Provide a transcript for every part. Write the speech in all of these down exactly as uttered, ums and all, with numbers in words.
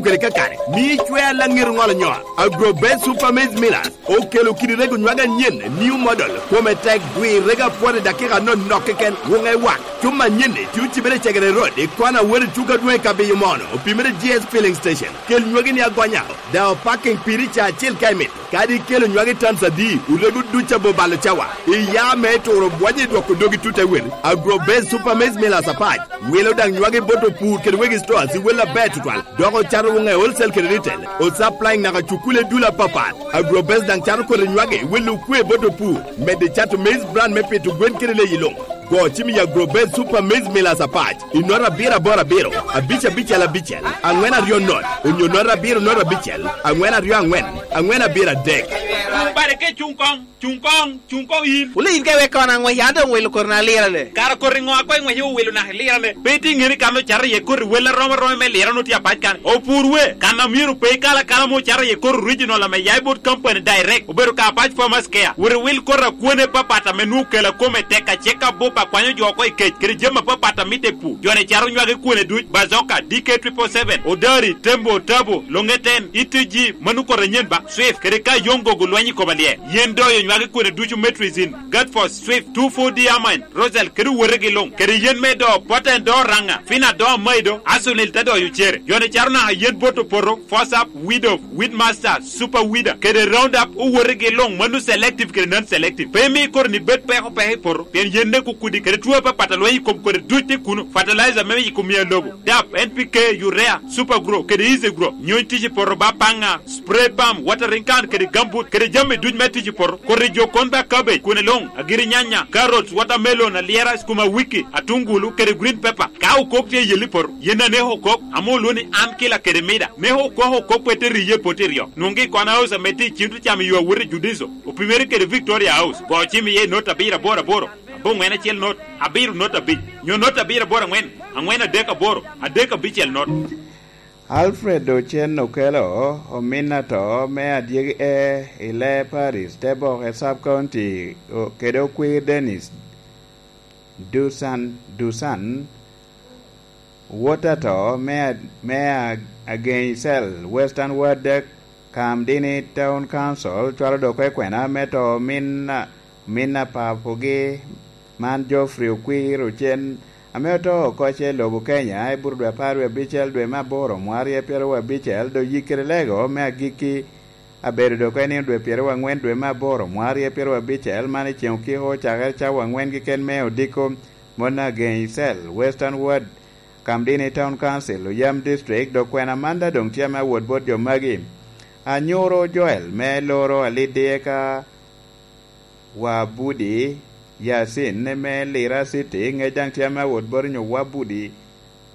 kede kakare, mio icwer laŋet oŋolo nyoa. Agro Best Super Maize Millers okelo kidi rego nywage anyen, new model, kome tek, dwi rego apwot i dakika anonok keken, wuŋe wak. Cuma anyen-ni tye ocibere i Cegere Road, i kona wot i tuko adwoŋ i Kabiyo Mono, opimere G S Filling Station. Kel nywagi ni agonya, daŋ opaking piri ca acel ka imito. Kadi ikelo nywagi tons adi, orego duc abobalo cawa. Iya me turo bwonyo i dwoko dogi tut ewel. Agro Best Super Maize Millers apac wilo daŋ nywagi bot opur kede wegi stores i wel aber tutwal, dok ocato wuŋe wholesale kede retail, o supplying naka cukule dul apapat. Agro Best daŋ cato kodi nywagi i wel okwe bot opur, medo cato maize bran me pito gwen kede leyi luŋ. Go cim i Agro Best Super Maize Millers apac i nota abiro aboro abiro, abic abicel abicel, aŋwen aryo not, onyo nota abiro not abicel, aŋwen aryo aŋwen, aŋwen abiro adek. Bare ke cuŋ koŋ, cuŋ koŋ, cuŋ koŋ yin. Wule yin ka iwek kono aŋwec, an doŋ welo koti na lirane. Kara koti ŋo a koŋ iŋwec iwilo naka ilirane? Pe itye ŋeni kan ocato iye koti wel arom aroma me lirane otye apac kan. Opur we, kan a myero pe ikal akala ame ocato iye koti original ame ya i bot company direct, obedo ka apac farmers care. Wot iwil koti akwene papat ame nwoŋo kela kome tek acek abup akwanyo jo oko i kec, kede jami apapat a mitte i pur. Joni caro nywage kwene duc, Bazoka, D K triple seven, Odari, Tembo, Tabo, Longeten, E T G, mano koti anyen ba, Swift, kede ka Yongo gulweny i koma lye. Yen doyo nywage kwene ducu Metrizin, Gatfos, Swift, two four D Amine, Rosal, kede owotegi luŋ, kede yen me do, Poten do Raŋa, Fina do Amaido, Asunil te doyo cere. Joni caro naka yen bot opoto, Force Up, Weed Off, Weed Master, Super Weeder, kede Roundup, owotegi luŋ, mano selective kede non-selective. Pe imi koti ni bed peko peko i poto, pien yen nek okudi, kede two apapat a lweny i kom koti duc tye kuno, fertilizer me yiko mia lobo, dap, N P K, urea, Super Grow, kede Easy Grow, nyony tic i poto ba paŋa, spray pump, watering can, kede gambut, kede jami duc me tic i poto, koti jo kon ba cabbage, kwene luŋ, agiri nyanya, carrots, watermelon, alyera, skuma wiki, atungulu, kede green pepper. Ka okok tye i yelli poto, yen aneko okok, ame olwoŋo ni an kila kede mida. Neko okok okok pe te riye poto iryo. Nwoŋgi i Kona House ame tye i Cintro Cam i yo awot i Judiso, opimere kede Victoria House. Go cim iye i not abiro aboro aboro, aboŋwen acel not, abiro not abic, nyo not abiro aboro aŋwen, aŋwen adek aboro, adek abicel not. Alfred Ocen Okelo, omin ato me adyegi e i Lee Parish, Teboke Sub County, o-, kede okwir Dennis Dusan, Dusan, wot ato me a-, me a-, Ageŋi Cell, Western Ward, Kamdini Town Council, cwalo dok kwena me to omin a-, omin a papogi man Geoffrey Okwir Ocen, ame oto oko ce i lobo Kenya i buto dwe apar wie abicel dwe me aboro mwaka aryo pyeraryo wie abicel, dok yikere lego me agikki abedo dok en nino dwe pyeraryo aŋwen dwe me aboro mwaka aryo pyeraryo abicel, man i ceŋ okiko cakere cawa aŋwen keken me odiko mon Ageŋi Cell, Western Ward, Kamdini Town Council, Oyam District, dok kwena man daŋ doŋ tye ame awot bot jo magi. Anyuro Joel me Loro Alidi eka Wabudi Yasin me Lira City, ŋec daŋ tye ame awot bot nyo Wabudi,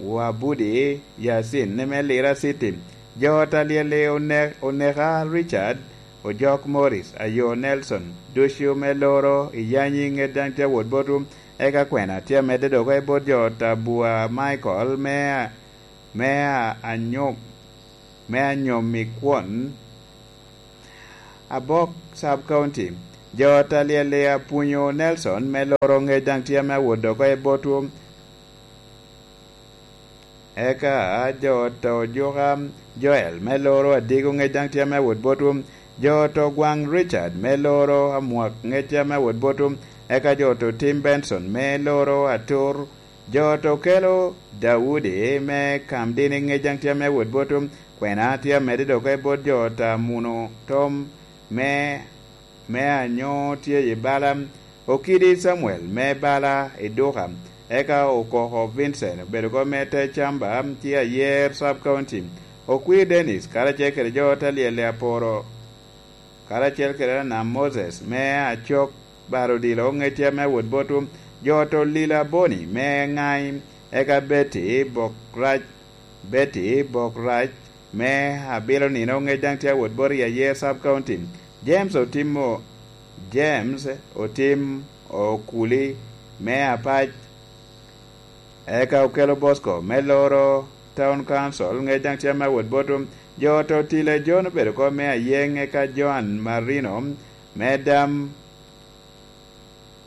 Wabudi Yasin me Lira City. Jo ot alyel-li one-, oneka Richard, Ojok Morris, Ayo Nelson, ducu me Loro i Yanyi, ŋec daŋ tye awot botwu. Eka kwena tye amedde dok i bot jo ot Abua Michael me, me a-, Anyom, me Anyom i kwon, Abok Sub County. Jo ot alyel-li Apwonyo Nelson me Loro, ŋec daŋ tye ame awot dok i botwu. Eka jo ot Ojuka Joel me Loro, Adiko, ŋec daŋ tye ame awot botwu. Jo ot Ogwaŋ Richard me Loro, Amwak, ŋec tye ame awot botwu. Eka jo ot Tim Benson me Loro, Atur. Jo ot Okelo Daudi me Kamdini, ŋec daŋ tye ame awot botwu. Kwena tye amedde dok i bot jo ot Amuno Tom me, me Anyo tye i bala, Okidi Samuel me bala i Duka, eka Okoko Vincent obedo kop me te Camba tye Ayer Sub County, Okwir Dennis karacel kede jo ot alyel i Aporo, karacel kede Anam Moses me Acok, Baro Odilo, ŋec tye ame awot botwu, jo ot Olila Boni me Ŋaim, eka Betty Bokrac, Betty Bokrac me Abilo Nino, ŋec daŋ tye awot bot i Ayer Sub County. James Otimo, James Otim Okuli me Apac, eka Okelo Bosco me Loro Town Council, ŋec daŋ tye ame awot botwu. Jo ot Otile John obedo kop me Ayeng, eka Joan Marino me Dam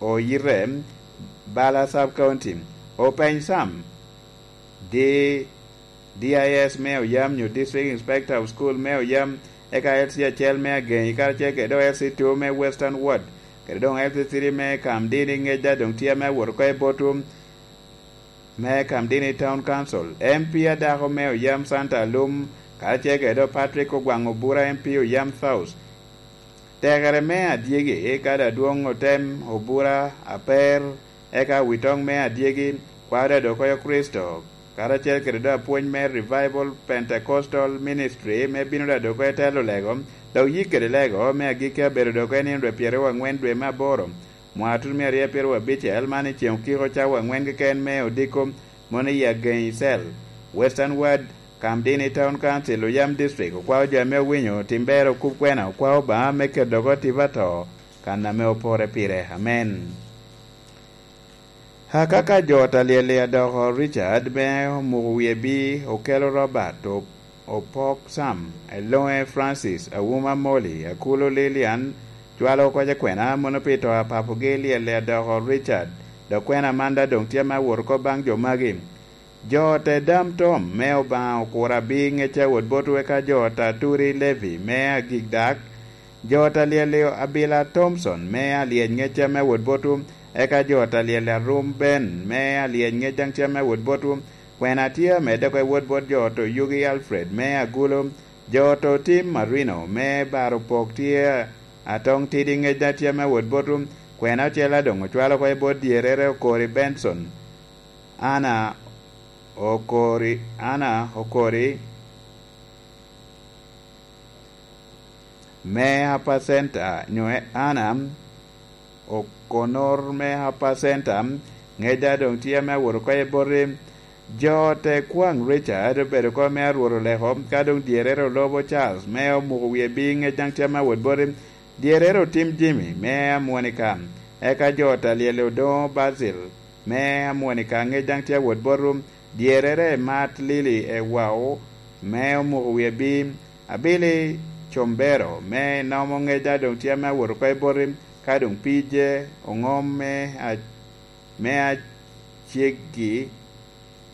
Oyite, Bala Sub County. Openy Sam, di D I S me Oyam nyo District Inspector of School me Oyam, eka L C acel me Agenyi karacel kede dok L C two me Western Ward, kede dok L C three me Kamdini ŋeca dok tye ame awot oko i botwu me Kamdini Town Council, M P adako me Oyam Santa Alum, karacel kede dok Patrick Ogwaŋ Obura M P Oyam South. Tekere me adyegi, kadi adwoŋ otem, obura, aper, eka awitoŋ me adyegi, kwaro dok oyo Kricito, karacel kede dok apwony me Revival Pentecostal Ministry me bino dok oyo telo lego, dok yik kede lego me agikki abedo dok i nino dwe pyeraryo aŋwen dwe me aboro, mwaka tutumia aryo pyeraryo abicel, man i ceŋ okiko cawa aŋwen keken me odiko, mono i Agenyi Cell, Western Ward, Kamdini Town Council, Oyam District, okwao jo ame owinyo tim bero kop kwena, okwao Obaŋa me keto dok otiba to kan ame opore pire. Amen. Akaka jo talyel-li adoko Richard me omuko wie bi okelo Robert, o-, opok Sam, eloŋe Francis, awuma Molly, akulo Lilian, cwalo oko kwena mono pi to a papogi lyel-li adoko Richard, dok kwena man daŋ doŋ tye ame awot oko baŋ jo magi. Jo te dam tom me Obaŋa okura bi ŋecca wot botwu eka jo ta turi Levi me agik dak, jo ta lyel abila Thomson me alyec ŋecca me wot botwu, eka jo ta lyel arum Ben me alyec ŋec daŋ tye me wot botwu, kwena tye amedde oko i wot bot jo to yugi Alfred me agulo, jo to tim Marino me baro pok tye atoŋ tidi ŋec daŋ tye me wot botwu, kwena ocel a doŋ ocwalo oko i bot dyerere okori Benson. Ana okori, Ana okori me Upper Center, nyo Ana Okonor me Upper Center, ŋeca doŋ tye ame awot oko i boti. Jo te kwaŋ Richard obedo oko me arwot oleko, ka doŋ dyerere olobo Charles me omuko wie bi ŋec daŋ tye ame awot boti. Dyerere otim Jimmy me Amwonika, eka jo ta lyel odoŋo Basil me Amwonika ŋec daŋ tye awot botwu, dyerere Mat Lili Ewao me omuko wie bi, abili Combero me inomo ŋec daŋ doŋ tye ame awot oko i boti, ka doŋ pije oŋom me a-, me aceggi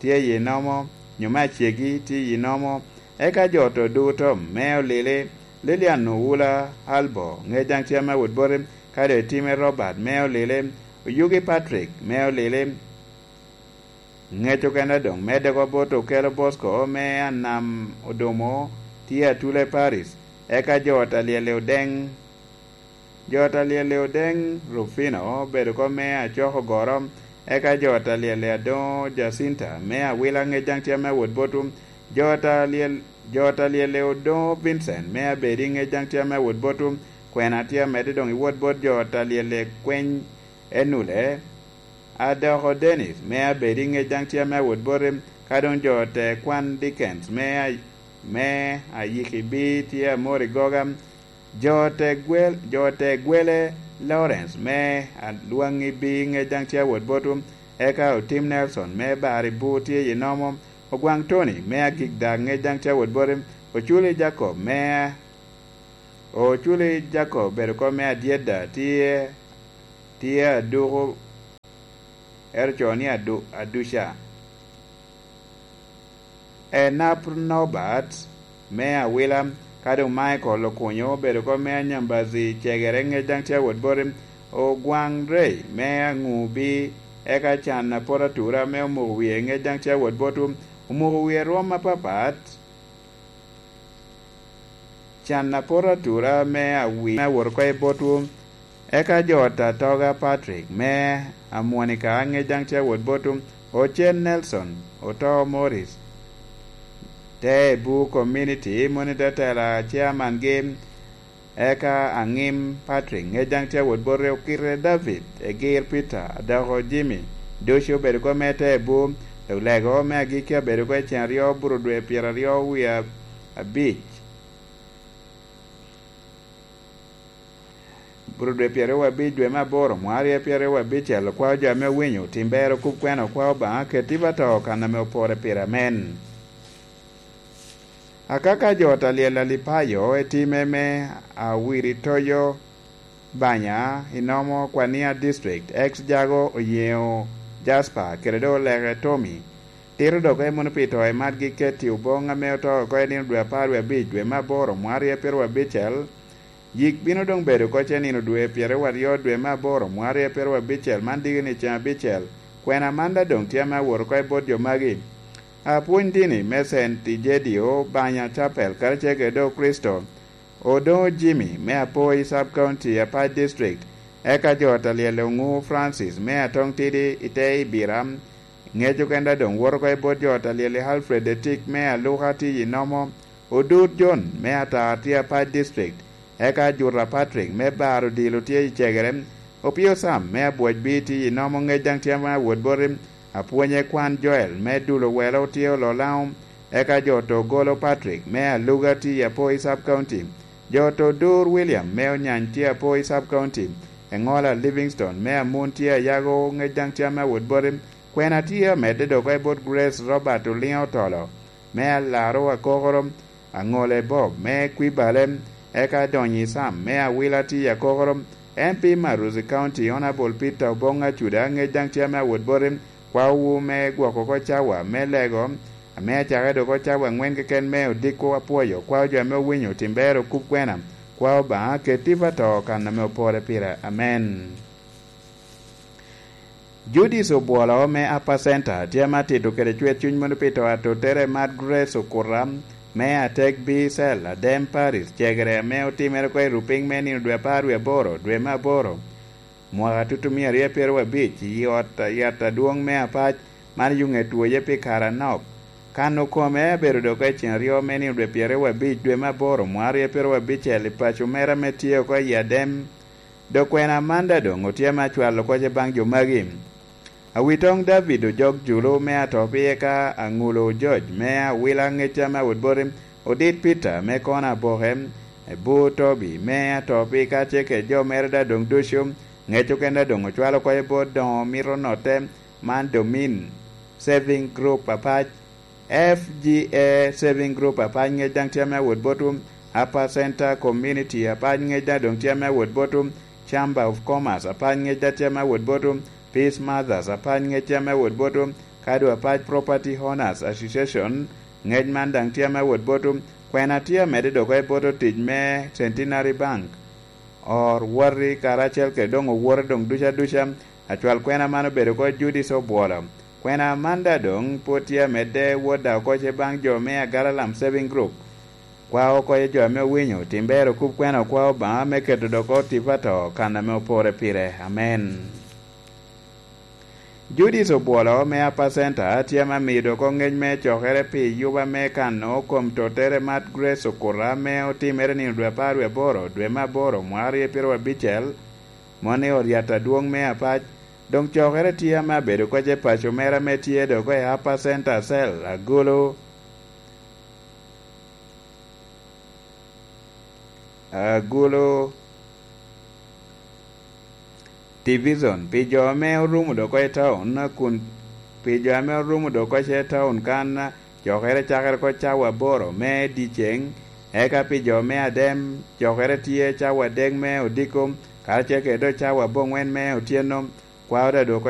tye i inomo, nyo me aceggi tye i inomo, eka jo to duto me olili, Lilian Owula Albo ŋec daŋ tye ame awot boti, ka doŋ itime Robert me olili, Oyugi Patrick me olili, ŋec okene doŋ medde oko bot Okelo Bosco me Anam Odomo tye Atule Paris, eka jo ta lyel odeŋ, jo ta lyel odeŋ Rufino obedo oko me Acoko Goro, eka jo ta lyel adoŋo Jacinta me Awila ŋec daŋ tye ame awot botwu, jo ta lyel, jo ta lyel odoŋo Vincent me Abedi ŋec daŋ tye ame awot botwu, kwena tye amedde doŋ i wot bot jo ta lyel kweny Enule, a doko Dennis me Abedi ŋec daŋ tye ame awot boti, ka doŋ jo te kwan Dickens me a-, me Ayikibi tye amor i goga, jo te gwel-, jo te gwele Lawrence me Alwaŋibi ŋec daŋ tye awot botwu, eka Otim Nelson me Baribu tye i nomo, Ogwaŋ Tony me Agik Dak ŋec daŋ tye awot boti, Oculi Jacob me Oculi Jacob bedo oko me Adyeda tye, tye aduku, ero co ni adu-, aduca. Enap Norbert me Awila, ka doŋ Michael Okunyo obedo oko me Anyambazi Cegere ŋec daŋ tye awot boti, Ogwaŋ Rey me Aŋubi, eka can apot atura me omuko wie ŋec daŋ tye awot botwu, omuko wie rwom apapat. Can apot atura me awi me awot oko i botwu, eka jo ta toga Patrick me Amwonika ŋec daŋ tye awot botwu, Ocen Nelson, Oto Morris, te i Bu Community, moni te tela chairman gi, eka Aŋim Patrick ŋec daŋ tye awot boti, Okite David, Egir Peter, Adoko Jimmy, ducu obedo oko me te i Bu, dok lego me agikki abedo oko i cen aryo buro dwe pyeraryo wie abic. Buro dwe pyeraryo wie abic dwe me aboro, mwaka aryo pyeraryo wie abicel, okwao jo ame owinyo, tim bero, kub kwena, okwao Obaŋa, ket tipo ato kan ame opore pire. Amen. Akaka jo ta lyel Alipayo etime me Awiritoyo Banya i Nomo Kwania District, ex Jago Oyeŋo Jasper, kede dok Oleke Tommy, Tito dok emo ni pi to i Mark Giketti Obong ame oto oko i nino dwe apar wie abic dwe me aboro mwarye pyeraryo abicel. Yik bino doŋ bedo oko ce nino dwe pyeraryo aryo dwe me aboro mwarye pyeraryo abicel, man diki ni ceŋ abicel. Kwena man daŋ doŋ tye ame awot oko i bot jo magi. Apwony dini me Saint Egidio, Banya Chapel, karacel kede Okricito, Odongo Jimmy me Apoi Sub County, Apac District, eka jo ot a lyel Oŋu Francis me Atoŋ Tidi i te Ibira. Ŋec okenda doŋ woto oko i bot jo ot a lyel Alfred Etik me Aluka tye i Nomo, Odur John me Atar tye Apac District, eka Juta Patrick me Bar Odilo tye i Cegere, Opio Sam me Abwocbi tye i Nomo, ŋec daŋ tye ame awot boti, apwonye kwan Joel me Dulo Welo tye Ololaŋo, eka jo Togolo Patrick me Aluga tye i Apoi Sub County, jo Todur William me Onyany tye Apoi Sub County, Eŋola Livingstone me Amun tye Ayago, ŋec daŋ tye ame awot boti, kwena tye amedde dok oko i bot Grace Robert Oliŋo Otolo me Alaro Akokoro, Aŋole Bob me Kwibale, eka Donyi Sam me Awila tye Akokoro, M P Maruzi County Honourable Peter Obong Acuda, ŋec daŋ tye ame awot boti, kwaowu me gwoko oko cawa me lego, ame acake dok oko cawa aŋwen keken me odiko. Apwoyo kwao jo ame owinyo tim ber okub kwena, kwao Obaŋa ket tipo ato kan ame opore pire. Amen. Judith Obwolo me Upper Center tye ame atito kede cwer cuny mono pi to atottere Mad Grace Okuta me Atek B Cell, Adem Paris, cegere ame otimere oko i Rupiny me nino dwe apar wie aboro, dwe me aboro, mwaka tutumia aryo pyeraryo abic, i ot yat adwoŋ me Apac, man yuŋe twoye pi kare anok. Kan okome abedo dok i ceŋ aryo me nino dwe pyeraryo abic, dwe me aboro, mwaka aryo pyeraryo abicel, i paco mere ame tye oko i Adem. Dok kwena man daŋ doŋ otye ame acwalo oko ce baŋ jo magi. Awitoŋ David Ojok Julu me Atopi, eka Aŋulo George me Awila, ŋec ame awot boti, Odit Peter me Kona Aboke, Ebu Tobi me Atopi, ka ce kede jo mere daŋ doŋ ducu, ŋec okene daŋ doŋ ocwalo oko i bot doŋo mito notte, man Domin Saving Group Apac, F G A Saving Group Apac, ŋec daŋ tye ame awot botwu, Upper Center Community Apac, ŋec daŋ doŋ tye ame awot botwu, Chamber of Commerce Apac, ŋec daŋ tye ame awot botwu, Peace Mothers Apac, ŋec tye ame awot botwu, Kadu Apac Property Owners Association, ŋec man daŋ tye ame awot botwu, kwena tye amedde dok oko i bot otic me Centenary Bank, or woti karacel kede doŋ owote doŋ duca duca. Acwal kwena man obedo oko Judith Obwolo. Kwena man daŋ doŋ pwod tye amedde wot daŋ oko ce baŋ jo me Agalalam Saving Group. Kwao oko i jo ame owinyo, tim ber okub kwena, okwao Obaŋa me keto dok oko tipo ato kan ame opore pire. Amen. Judith Obwolo me Upper Center tye ame amiyo dok oko ŋec me cokere pi yuba me kano kom tottere Mad Grace Okuta ame otimere nino dwe apar wie aboro, dwe me aboro, mwaka aryo pyeraryo abicel, moni oryat adwoŋ me Apac. Doŋ cokere tye ame abedo oko ce paco mere ame tye dok oko i Upper Center Cell, Agulu, Agulu Division, pi jo ame orumo dok oko i taun, kun pi jo ame orumo dok oko ce i taun kan, cokere cakere oko cawa aboro me dyeceŋ, eka pi jo me Adem, cokere tye cawa adek me odiko, karacel kede dok cawa aboŋwen me otyeno, kwao daŋ dok oko